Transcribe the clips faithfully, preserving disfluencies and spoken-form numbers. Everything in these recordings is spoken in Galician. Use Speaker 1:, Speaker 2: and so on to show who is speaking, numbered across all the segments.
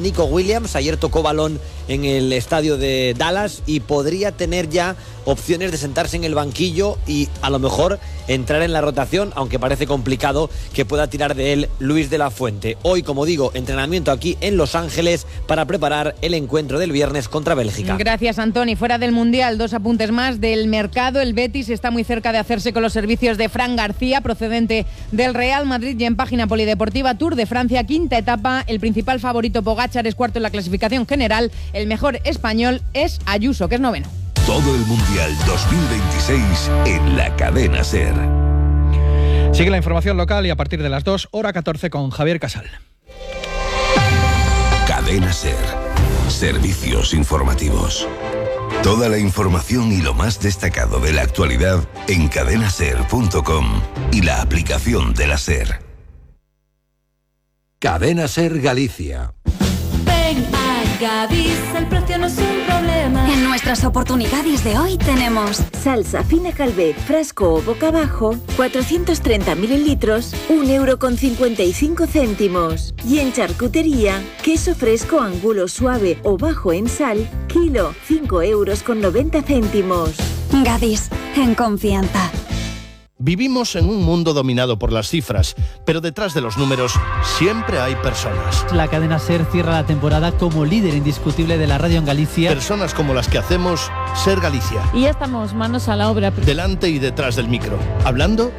Speaker 1: Nico Williams, ayer tocó balón en el estadio de Dallas y podría tener ya opciones de sentarse en el banquillo y a lo mejor entrar en la rotación, aunque parece complicado que pueda tirar de él Luis de la Fuente. Hoy, como digo, entrenamiento aquí en Los Ángeles para preparar el encuentro del viernes contra Bélgica.
Speaker 2: Gracias, Antoni. Fuera del Mundial, dos apuntes más del mercado. El Betis está muy cerca de hacerse con los servicios de Fran García, procedente del Real Madrid, y en página polideportiva, Tour de Francia, quinta etapa. El principal favorito, Pogačar, es cuarto en la clasificación general. El mejor español es Ayuso, que es noveno.
Speaker 3: Todo el Mundial dos mil veintiséis en la cadena SER.
Speaker 4: Sigue la información local y a partir de las dos, hora catorce, con Javier Casal.
Speaker 3: Cadena SER. Servicios informativos. Toda la información y lo más destacado de la actualidad en cadena ser punto com y la aplicación de la SER. Cadena SER Galicia.
Speaker 5: Ven a Gadis, el precio no es un problema.
Speaker 6: En nuestras oportunidades de hoy tenemos
Speaker 7: salsa fina Calvet, frasco o boca abajo, cuatrocientos treinta mililitros, un euro con cincuenta y cinco céntimos. Y en charcutería, queso fresco angulo suave o bajo en sal, kilo, cinco euros con noventa céntimos.
Speaker 6: Gadis, en confianza.
Speaker 8: Vivimos en un mundo dominado por las cifras, pero detrás de los números siempre hay personas.
Speaker 9: La cadena SER cierra la temporada como líder indiscutible de la radio en Galicia.
Speaker 8: Personas como las que hacemos SER Galicia.
Speaker 10: Y ya estamos manos a la obra.
Speaker 8: Delante y detrás del micro, hablando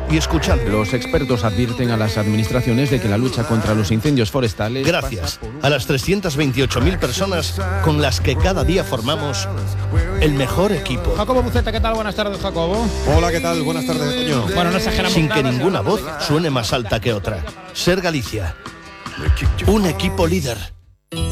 Speaker 8: y escuchando.
Speaker 11: Los expertos advierten a las administraciones de que la lucha contra los incendios forestales...
Speaker 8: Gracias a las trescientas veintiocho mil personas con las que cada día formamos el mejor equipo.
Speaker 4: Jacobo Buceta, ¿qué tal? Buenas tardes, Jacobo.
Speaker 12: Hola, ¿qué tal? Buenas tardes, Toño.
Speaker 4: Bueno, no exageramos
Speaker 8: Sin
Speaker 4: nada,
Speaker 8: que ninguna voz suene más alta que otra. SER Galicia. Un equipo líder.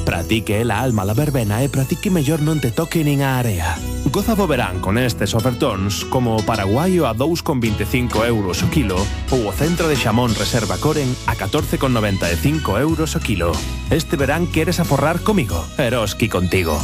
Speaker 13: Pratique la alma la verbena e pratique mellor non te toque nin a area. Goza do verán con estes ofertóns como o paraguaio a dous con veinticinco euros o kilo ou o centro de xamón Reserva Coren a catorce con noventa e cinco euros o kilo. Este verán queres aforrar comigo, Eroski contigo.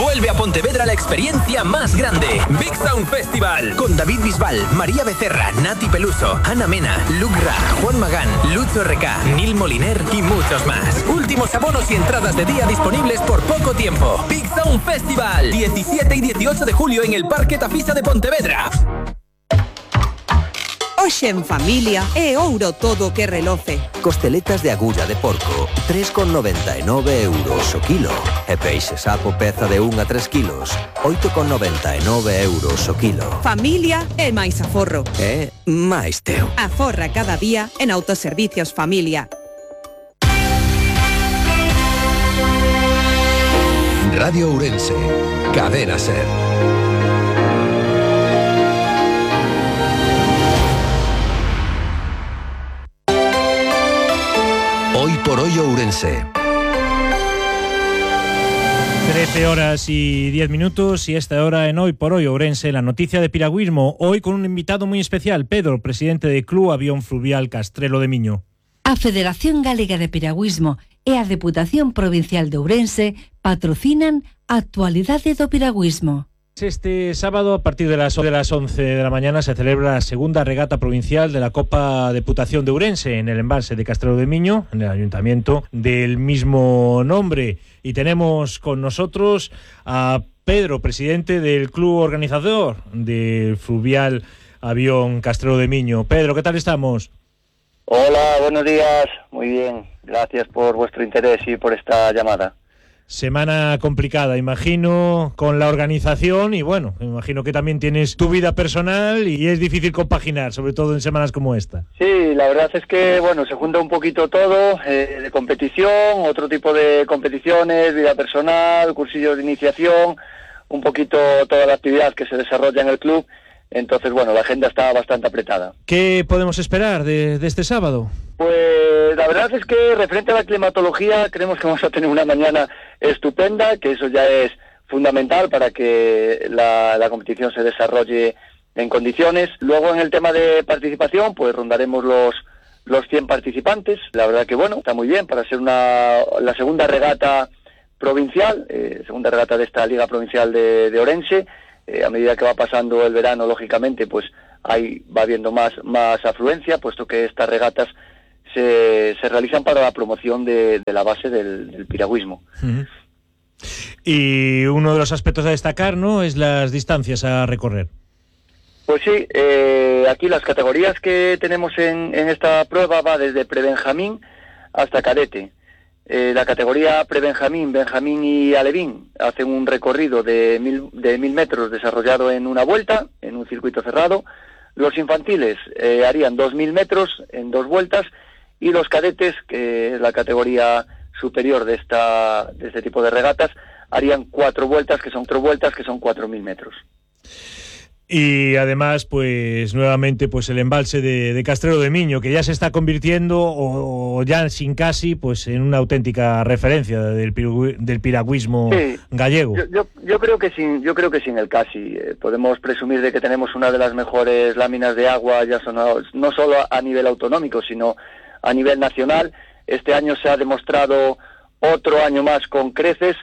Speaker 14: Vuelve a Pontevedra la experiencia más grande. Big Sound Festival. Con David Bisbal, María Becerra, Nati Peluso, Ana Mena, Luke Ra, Juan Magán, Lucho R K, Nil Moliner y muchos más. Últimos abonos y entradas de día disponibles por poco tiempo. Big Sound Festival. diecisiete y dieciocho de julio en el Parque Tafisa de Pontevedra.
Speaker 15: Hoxe en familia é ouro todo que reloce.
Speaker 16: Costeletas de agulla de porco, tres con noventa e nove euros o kilo. E peixe sapo peza de un a tres kilos, oito con noventa e nove euros o kilo.
Speaker 15: Familia é máis aforro.
Speaker 16: É máis teu.
Speaker 15: Aforra cada día en Autoservicios Familia.
Speaker 3: Radio Ourense, Cadena SER. Hoy por hoy Ourense.
Speaker 17: trece horas y diez minutos y esta hora en Hoy por Hoy Ourense, la noticia de piragüismo, hoy con un invitado muy especial, Pedro, presidente del Club Avión Fluvial Castrelo de Miño.
Speaker 18: A Federación Galega de Piragüismo e a Deputación Provincial de Ourense patrocinan a actualidade do piragüismo.
Speaker 17: Este sábado, a partir de las, de las once de la mañana, se celebra la segunda regata provincial de la Copa Deputación de Ourense en el embalse de Castrelo de Miño, en el ayuntamiento del mismo nombre. Y tenemos con nosotros a Pedro, presidente del club organizador del Fluvial Avión Castrelo de Miño. Pedro, ¿qué tal estamos?
Speaker 19: Hola, buenos días. Muy bien. Gracias por vuestro interés y por esta llamada.
Speaker 17: Semana complicada, imagino, con la organización y bueno, me imagino que también tienes tu vida personal y es difícil compaginar, sobre todo en semanas como esta.
Speaker 19: Sí, la verdad es que, bueno, se junta un poquito todo, eh, de competición, otro tipo de competiciones, vida personal, cursillos de iniciación, un poquito toda la actividad que se desarrolla en el club. Entonces, bueno, la agenda está bastante apretada.
Speaker 17: ¿Qué podemos esperar de, de este sábado?
Speaker 19: Pues la verdad es que referente a la climatología creemos que vamos a tener una mañana estupenda, que eso ya es fundamental para que la, la competición se desarrolle en condiciones. Luego en el tema de participación, pues rondaremos los, los cien participantes. La verdad que bueno, está muy bien para ser una, la segunda regata provincial, eh, segunda regata de esta Liga Provincial de, de Ourense. Eh, a medida que va pasando el verano, lógicamente, pues ahí va habiendo más, más afluencia, puesto que estas regatas se, se realizan para la promoción de, de la base del, del piragüismo.
Speaker 17: Uh-huh. Y uno de los aspectos a destacar, ¿no?, es las distancias a recorrer.
Speaker 19: Pues sí, eh, aquí las categorías que tenemos en, en esta prueba va desde prebenjamín hasta cadete. Eh, la categoría prebenjamín, benjamín y alevín hacen un recorrido de mil, de mil metros desarrollado en una vuelta, en un circuito cerrado. Los infantiles eh, harían dos mil metros en dos vueltas, y los cadetes, que es la categoría superior de esta de este tipo de regatas, harían cuatro vueltas, que son cuatro vueltas, que son cuatro mil metros.
Speaker 17: Y además, pues nuevamente, pues el embalse de, de Castrelo de Miño, que ya se está convirtiendo, o, o ya sin casi, pues en una auténtica referencia del, piru, del piragüismo sí, gallego.
Speaker 19: Yo, yo, yo creo que sin, yo creo que sin el casi eh, podemos presumir de que tenemos una de las mejores láminas de agua, ya son, no solo a nivel autonómico, sino a nivel nacional. Este año se ha demostrado otro año más con creces,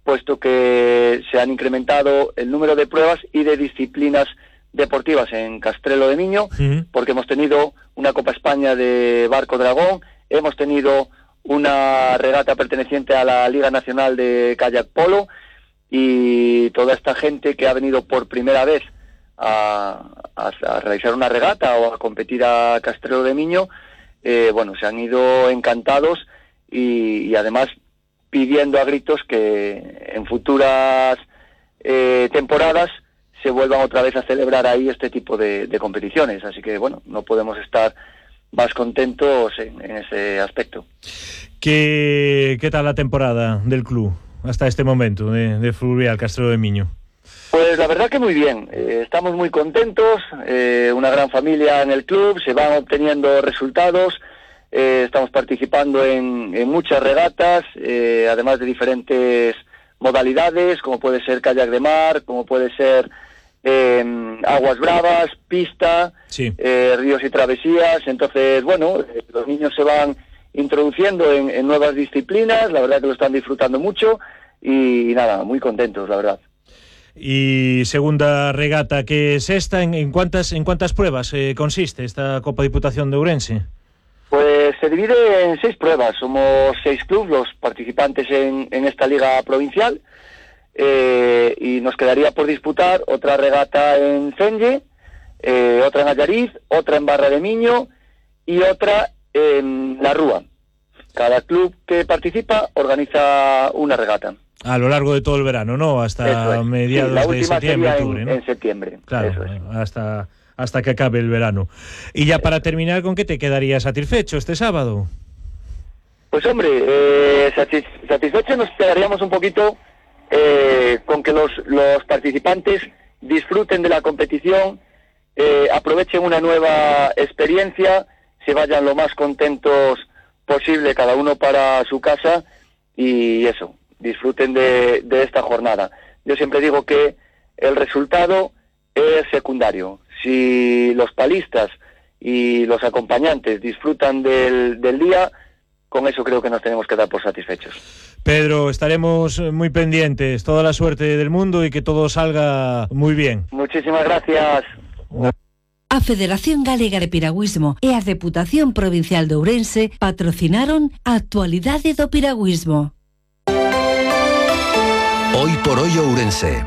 Speaker 19: puesto que se han incrementado el número de pruebas y de disciplinas deportivas en Castrelo de Miño, uh-huh. porque hemos tenido una Copa España de Barco Dragón, hemos tenido una regata perteneciente a la Liga Nacional de Kayak Polo, y toda esta gente que ha venido por primera vez a, a, a realizar una regata o a competir a Castrelo de Miño, eh, bueno, se han ido encantados y, y además pidiendo a gritos que en futuras eh, temporadas se vuelvan otra vez a celebrar ahí este tipo de, de competiciones. Así que, bueno, no podemos estar más contentos en, en ese aspecto.
Speaker 17: ¿Qué, ¿Qué tal la temporada del club hasta este momento de, de Fluvial Castrelo de Miño?
Speaker 19: Pues la verdad que muy bien. Eh, estamos muy contentos, eh, una gran familia en el club, se van obteniendo resultados. Eh, estamos participando en, en muchas regatas, eh, además de diferentes modalidades, como puede ser kayak de mar, como puede ser eh, aguas bravas, pista, sí. eh, ríos y travesías. Entonces, bueno, eh, los niños se van introduciendo en, en nuevas disciplinas, la verdad que lo están disfrutando mucho y, y nada, muy contentos, la verdad.
Speaker 17: Y segunda regata, que es esta, ¿en, en cuántas en cuántas pruebas eh, consiste esta Copa Diputación de Ourense?
Speaker 19: Pues se divide en seis pruebas. Somos seis clubes los participantes en, en esta liga provincial, eh, y nos quedaría por disputar otra regata en Cenge, eh, otra en Allariz, otra en Barra de Miño y otra en La Rúa. Cada club que participa organiza una regata.
Speaker 17: A lo largo de todo el verano, ¿no? Hasta es. mediados sí, de septiembre, octubre,
Speaker 19: en,
Speaker 17: ¿no?
Speaker 19: en septiembre.
Speaker 17: Claro,
Speaker 19: eso es.
Speaker 17: hasta... hasta que acabe el verano. Y ya para terminar, ¿con qué te quedarías satisfecho este sábado?
Speaker 19: Pues hombre, eh, satis satisfecho nos quedaríamos un poquito eh, con que los, los participantes disfruten de la competición, eh, aprovechen una nueva experiencia, se vayan lo más contentos posible cada uno para su casa y eso, disfruten de, de esta jornada. Yo siempre digo que el resultado es secundario. Si los palistas y los acompañantes disfrutan del, del día, con eso creo que nos tenemos que dar por satisfechos.
Speaker 17: Pedro, estaremos muy pendientes. Toda la suerte del mundo y que todo salga muy bien.
Speaker 19: Muchísimas gracias.
Speaker 18: A Federación Galega de Piragüismo e a Deputación Provincial de Ourense patrocinaron a Actualidade do Piragüismo.
Speaker 3: Hoy por hoy Ourense.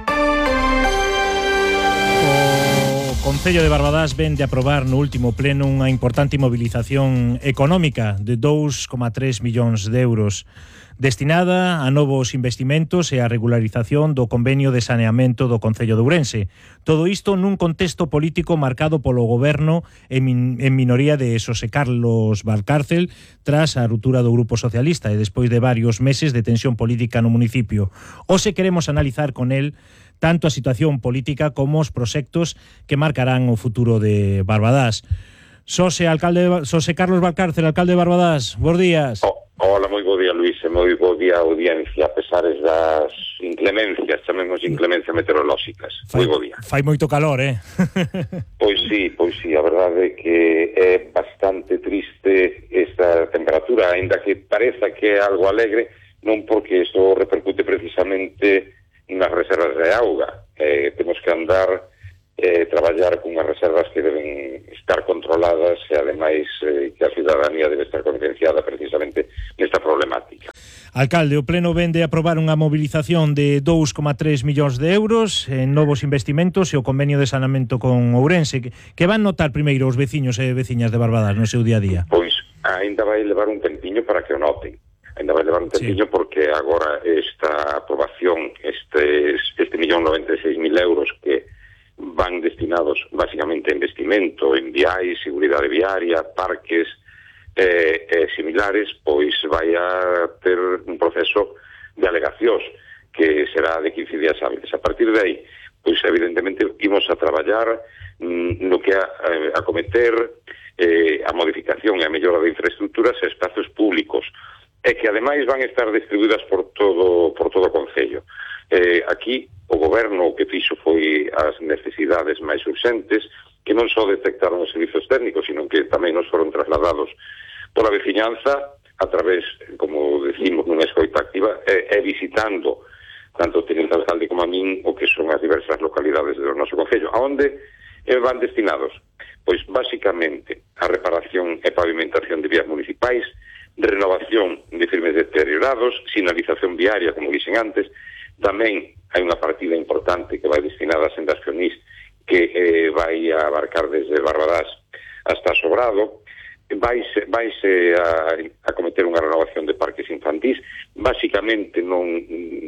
Speaker 17: O Concello de Barbadás ven de aprobar no último pleno unha importante mobilización económica de dous coma tres millóns de euros destinada a novos investimentos e a regularización do convenio de saneamento do Concello de Ourense. Todo isto nun contexto político marcado polo goberno en, min en minoría de Xosé Carlos Valcárcel tras a ruptura do Grupo Socialista e despois de varios meses de tensión política no municipio. Hoxe queremos analizar con el tanto a situación política como os proxectos que marcarán o futuro de Barbadás. Xosé, alcalde, Xosé Carlos Valcárcel, alcalde de Barbadás, bons días.
Speaker 20: Oh, hola, moi bo día, Luís, e moi bo día a audiencia, a pesares das inclemencias, chamemos inclemencias meteorolóxicas. Moi bo día.
Speaker 17: Fai moito calor, eh?
Speaker 20: Pois sí, pois sí, a verdade é que é bastante triste esta temperatura, aínda que pareza que é algo alegre, non porque isto repercute precisamente nas reservas de auga. Eh, temos que andar eh, traballar cunhas reservas que deben estar controladas e ademais eh, que a ciudadanía debe estar concienciada precisamente nesta problemática.
Speaker 17: Alcalde, o Pleno vende a aprobar unha mobilización de dous coma tres millóns de euros en novos investimentos e o convenio de saneamento con Ourense. Que van notar primeiro os veciños e veciñas de Barbadas no seu día a día?
Speaker 20: Pois ainda vai levar un tempiño para que o noten. Ainda vai levar un tempiño, sí, porque agora esta aprobación, este, este millón noventa e seis mil euros que van destinados basicamente a investimento en viais, seguridade viaria, parques eh, eh, similares, pois vai a ter un proceso de alegacións que será de quince días hábiles. A partir de aí, pois evidentemente imos a traballar mm, no que a, a cometer eh, a modificación e a mellora de infraestructuras e espazos públicos, e que ademais van a estar distribuídas por todo por todo o concello. Eh, aquí o goberno o que fixo foi as necesidades máis urxentes, que non só detectaron os servizos técnicos, sino que tamén nos foron trasladados pola veciñanza a través, como decimos, nunha escoita activa, e, e visitando tanto o teniente alcalde como a min o que son as diversas localidades do noso concello. A onde van destinados? Pois basicamente a reparación e pavimentación de vías municipais, renovación de firmes deteriorados, sinalización viaria, como dixen antes. Tamén hai unha partida importante que vai destinada a sendas peonís que eh, vai a abarcar desde Barbadas hasta Sobrado. Vaise, vaise a, a cometer unha renovación de parques infantís, basicamente non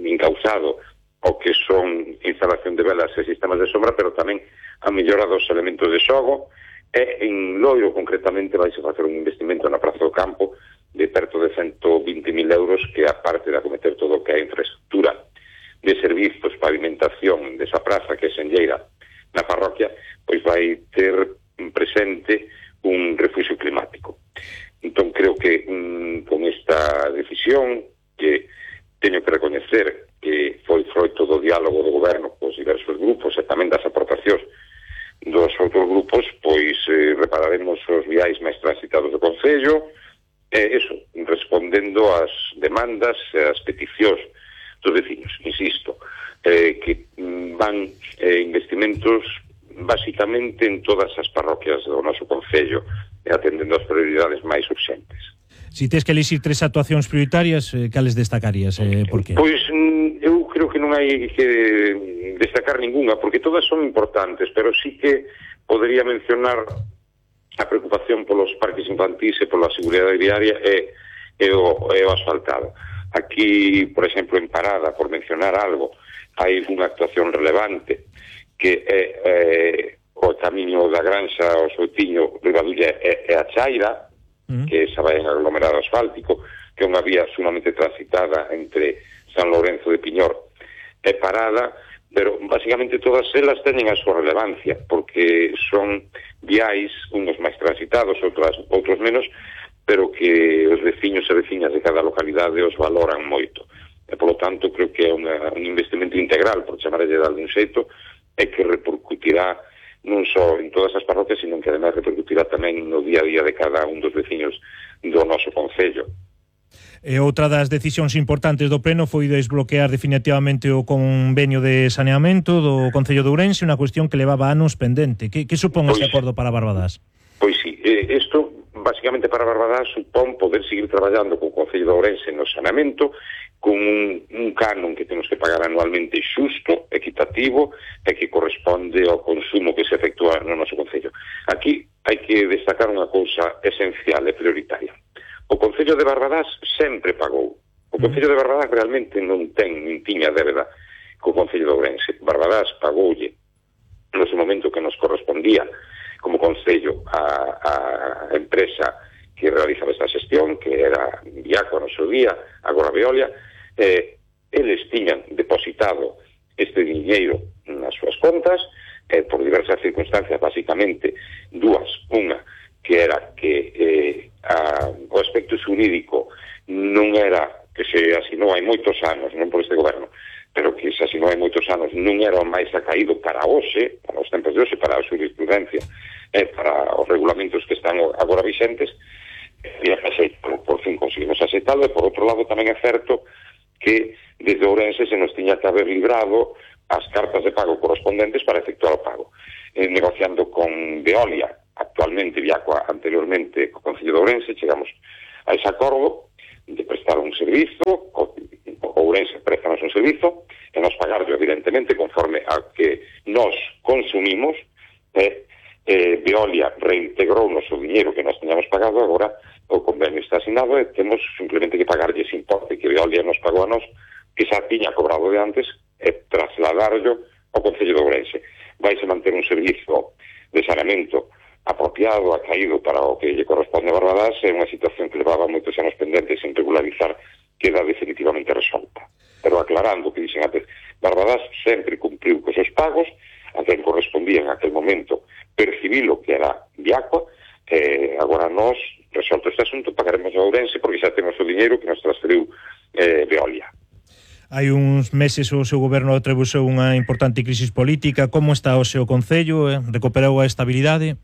Speaker 20: encausado o que son instalación de velas e sistemas de sombra, pero tamén a mellora dos elementos de xogo, e en Loiro concretamente vaise facer un investimento na Praza do Campo de perto de ciento vinte mil euros, que aparte de acometer todo o que é infraestructura de servizos, pavimentación desa praza que é senlleira na parroquia, pois vai ter presente un refugio climático. Entón creo que mm, con esta decisión, que teño que recoñecer que foi froito do diálogo do goberno cos diversos grupos e tamén das aportacións dos outros grupos, pois eh, repararemos os viais máis transitados do concello, e eso, respondendo ás demandas e ás peticións dos veciños, insisto, eh, que van eh, investimentos basicamente en todas as parroquias do noso concello e atendendo as prioridades máis urxentes.
Speaker 17: Si tes que elixir tres actuacións prioritarias, eh, cales destacarías? Eh, por qué?
Speaker 20: Pois eu creo que non hai que destacar ninguna, porque todas son importantes, pero sí que podría mencionar a preocupación polos parques infantís e pola seguridade viaria e, e, o, e o asfaltado. Aquí, por exemplo, en Parada, por mencionar algo, hai unha actuación relevante que é eh, o camiño da Granxa ao Soutiño, Ribadulla e, e a Chaira, mm. que esa vai en aglomerado asfáltico, que é unha vía sumamente transitada entre San Lourenzo de Piñor e Parada, pero basicamente todas elas teñen a súa relevancia, porque son viais, unos máis transitados, outros, outros menos, pero que os veciños e veciñas de cada localidade os valoran moito. E, polo tanto, creo que é unha, un investimento integral, por chamarlle de algún xeito, e que repercutirá non só en todas as parroquias, sino que ademais repercutirá tamén no día a día de cada un dos veciños do noso concello.
Speaker 17: E outra das decisións importantes do Pleno foi desbloquear definitivamente o convenio de saneamento do Concello de Ourense, unha cuestión que levaba anos pendente. Que, que supón pois, este acordo para Barbadas?
Speaker 20: Pois sí, eh, isto basicamente para Barbadas supón poder seguir traballando co Concello de Ourense no saneamento, con un, un canon que temos que pagar anualmente xusto, equitativo, e que corresponde ao consumo que se efectúa no noso concello. Aquí hai que destacar unha cousa esencial e prioritaria. O Concello de Barbadas sempre pagou. O Concello de Barbadas realmente non ten nin tiña débeda co Concello de Ourense. Barbadas pagoulle no seu momento que nos correspondía como Concello a, a empresa que realizaba esta xestión, que era Viaco no seu día, agora Veolia. Eh, eles tiñan depositado este diñeiro nas súas contas, eh, por diversas circunstancias, basicamente dúas. Unha, que era que eh, a, o aspecto xurídico non era que se asinou hai moitos anos, non por este goberno, pero que se asinou hai moitos anos, non era o máis acaído para hoxe, para os tempos de hoxe, para a jurisprudencia, eh, para os regulamentos que están agora vixentes, e por, por fin conseguimos aceptalo. E por outro lado tamén é certo que desde Ourense se nos tiña que haber librado as cartas de pago correspondentes para efectuar o pago. eh, negociando con Veolia, actualmente Viacua, anteriormente co Concello de Ourense, chegamos a ese acordo de prestar un servizo, o Ourense préstanos un servizo, e nos pagarlo evidentemente conforme a que nos consumimos, e eh, Veolia reintegrou o noso dinheiro que nos teníamos pagado, agora o convenio está asinado e temos simplemente que pagarlle ese importe que Veolia nos pagou a nos, que xa tiña cobrado de antes, e trasladarlo ao Concello de Ourense. Vais a manter un servizo de saneamento apropiado, acaído para o que lle corresponde a Barbadás, é unha situación que levaba moitos anos pendentes sin regularizar, queda definitivamente resolta. Pero aclarando o que dixen antes, Barbadás sempre cumpriu cos seus pagos, a quen correspondía en aquel momento percibilo que era Viacua, e agora nós, resolto este asunto, pagaremos a Ourense porque xa temos o diñeiro que nos transferiu eh, Veolia.
Speaker 17: Hai uns meses o seu goberno atravesou unha importante crisis política. Como está o seu concello? Eh? Recuperou a estabilidade?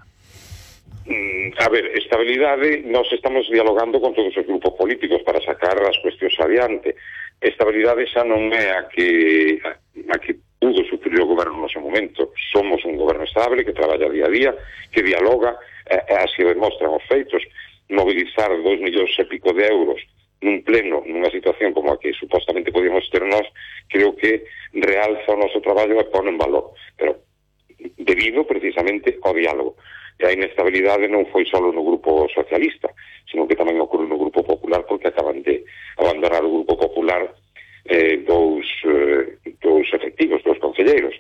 Speaker 20: Mm, a ver, estabilidade, nós estamos dialogando con todos os grupos políticos para sacar as cuestións adiante. Estabilidade xa non é a que, a que pudo sufrir o goberno no seu momento. Somos un goberno estable que traballa día a día, que dialoga, e, e así demostran os feitos. Mobilizar dos millóns e pico de euros nun pleno, nunha situación como a que supostamente podíamos ter nós, creo que realza o noso traballo e pone en valor. Pero debido precisamente ao diálogo. E a inestabilidade non foi só no grupo socialista, sino que tamén ocorre no grupo popular, porque acaban de abandonar o grupo popular eh, dous, eh, dous efectivos, dous concelleiros.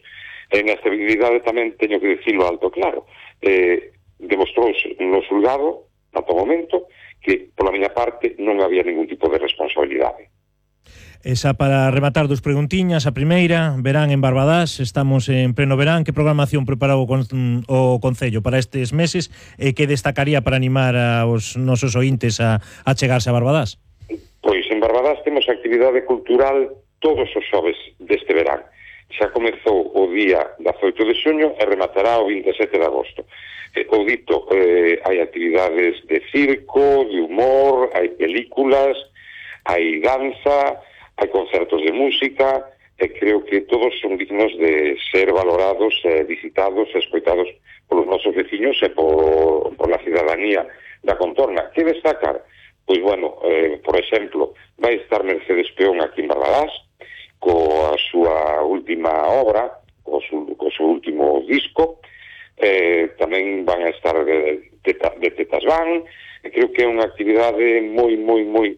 Speaker 20: E a inestabilidade tamén, teño que dicirlo alto claro, eh, demostrouse no xulgado, ata o momento, que, pola miña parte, non había ningún tipo de responsabilidade.
Speaker 17: Esa para rematar dos preguntiñas. A primeira, verán en Barbadás, estamos en pleno verán. Que programación preparou o, con, o Concello para estes meses e que destacaría para animar aos nosos ointes a, a chegarse a Barbadás?
Speaker 20: Pois en Barbadás temos actividade cultural todos os xoves deste verán. Xa comezou o día dezoito de xuño e rematará o vinte e sete de agosto. Eh, o dito, eh, hai actividades de circo, de humor, hai películas, hai danza, hai concertos de música, e creo que todos son dignos de ser valorados, eh, visitados, escoitados polos nosos veciños e por, por la cidadanía da contorna. Que destacar? Pois, bueno, eh, por exemplo, vai estar Mercedes Peón aquí en Barbadás, coa súa última obra, co seu, co seu último disco, eh, tamén van a estar de, de, de Tetas Van, e creo que é unha actividade moi, moi, moi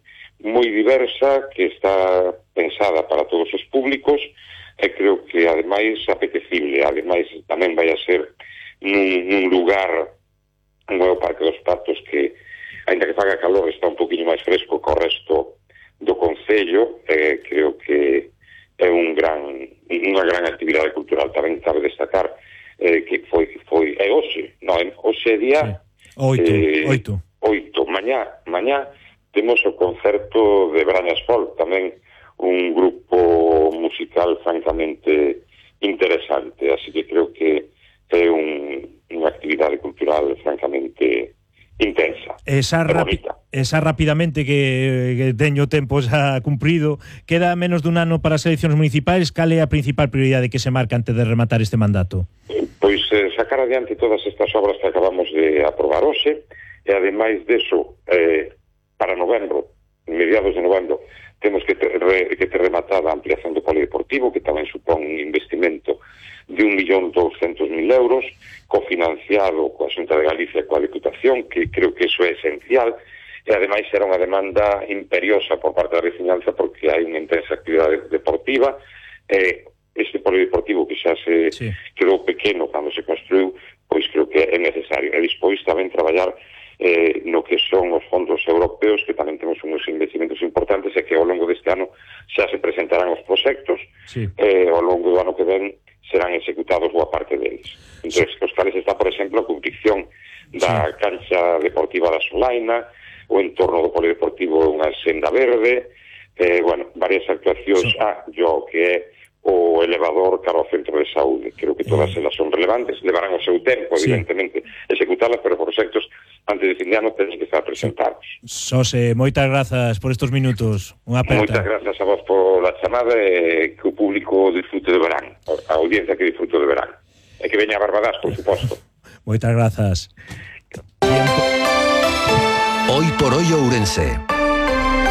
Speaker 20: moi diversa, que está pensada para todos os públicos, e creo que ademais apetecible, ademais tamén vai a ser nun, nun lugar como é o Parque dos Patos, que ainda que faga calor está un poquinho máis fresco co resto do Concello, e creo que é un gran, unha gran actividade cultural. Tamén cabe destacar eh, que foi, foi é hoxe, non, hoxe é día
Speaker 17: sí. oito,
Speaker 20: eh,
Speaker 17: oito.
Speaker 20: oito, mañá, mañá temos o concerto de Brañas Folk, tamén un grupo musical francamente interesante, así que creo que é un, unha actividade cultural francamente intensa,
Speaker 17: esa, rapi esa rapidamente que, que teño tempo xa cumprido, queda menos dun ano para as eleccións municipais. Cal é a principal prioridade que se marca antes de rematar este mandato?
Speaker 20: Pois eh, sacar adiante todas estas obras que acabamos de aprobar hoxe, e ademais deso, eh, para novembro, mediados de novembro, temos que ter, re, que ter rematada a ampliación do polideportivo, que tamén supón un investimento de un millón douscentos mil euros, cofinanciado coa Xunta de Galicia e coa Diputación, que creo que iso é esencial, e ademais era unha demanda imperiosa por parte da veciñanza, porque hai unha intensa actividade deportiva, e este polideportivo que xa se sí. quedou pequeno cando se construiu, pois creo que é necesario. E despois tamén traballar Eh, no que son os fondos europeos, que tamén temos uns investimentos importantes, e que ao longo deste ano xa se presentarán os proxectos, sí. eh, ao longo do ano que ven serán executados boa parte deles. Entón, sí. os cales está, por exemplo, a construcción da sí. cancha deportiva da Solaina, o entorno do polideportivo unha senda verde, eh, bueno, varias actuacións, sí. ah, yo que é o elevador cara ao centro de saúde. Creo que todas elas son relevantes, levarán o seu tempo, sí. evidentemente, executalas, pero proxectos antes de fin de ano tenen que estar presentados.
Speaker 17: Xosé, moitas grazas por estes minutos. Unha aperta.
Speaker 20: Moitas grazas a vos por la chamada, e que o público disfrute de verán, a audiencia que disfrute de verán. e que veña a Barbadas, por suposto.
Speaker 17: Moitas grazas.
Speaker 3: Hoy por hoy Ourense.